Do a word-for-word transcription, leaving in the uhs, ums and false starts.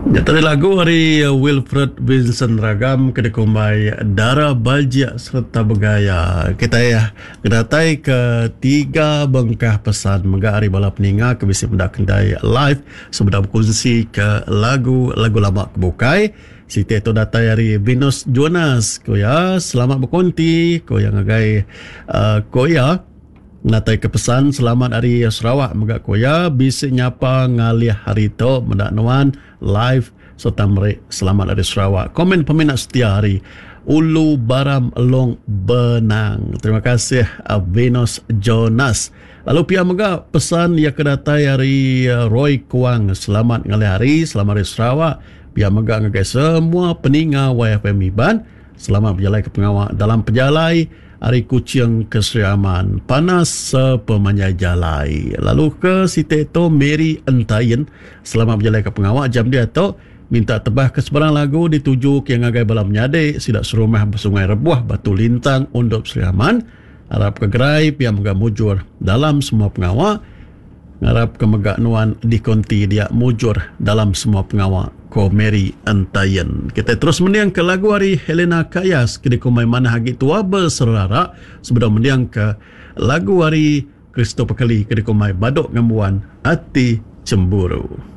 Nya tadi lagu ari Wilfred Vincent Ragam ke dikumbai Dara Bajik Sereta Begaya. Kitai ngedatai ke tiga bengkah pesan mega ari bala peninga ke bisi meda kendai live sebedau bekunsi ke lagu-lagu lama ke bukai. Siti tu datai ari Venus Jonas. Ku iya, selamat bekunti. Ku iya ngagai uh, ku iya Natai ke pesan selamat ari Sarawak mega ku iya bisi nyapa ngalih hari tu meda nuan live sereta meri selamat ari Sarawak. Komen peminat setia ari Ulu Baram Long Benang. Terima kasih Venus Jonas. Lalu pia mega pesan iya ke datai ari Roy Kuang selamat ngalih hari selamat ari Sarawak. Pia mega ngagai semua peninga Y F M Iban selamat bejalai ke pengawa dalam pejalai ari Kuching ke Sri Aman. Panas sepemanjai jalai. Lalu ke siti tu Mary Entayin selamat bejalai ke pengawa jam dia tu minta tebah ke sebarang lagu dituju ke ngagai bala menyadi sida serumah bersungai Rebuh Batu Lintang Undop Sri Aman. Arap ke gerai pia mega mujur dalam semua pengawa. Ngarap ke mega nuan dikonti dia mujur dalam semua pengawa ko Mary Entayin. Kita terus mendiang ke lagu ari Helena Kayas ke dikumbai Manah Agi Tua Beserara sebedau mendiang ke lagu ari Christopher Kelly ke dikumbai Badok Ngembuan Ati Cemburu.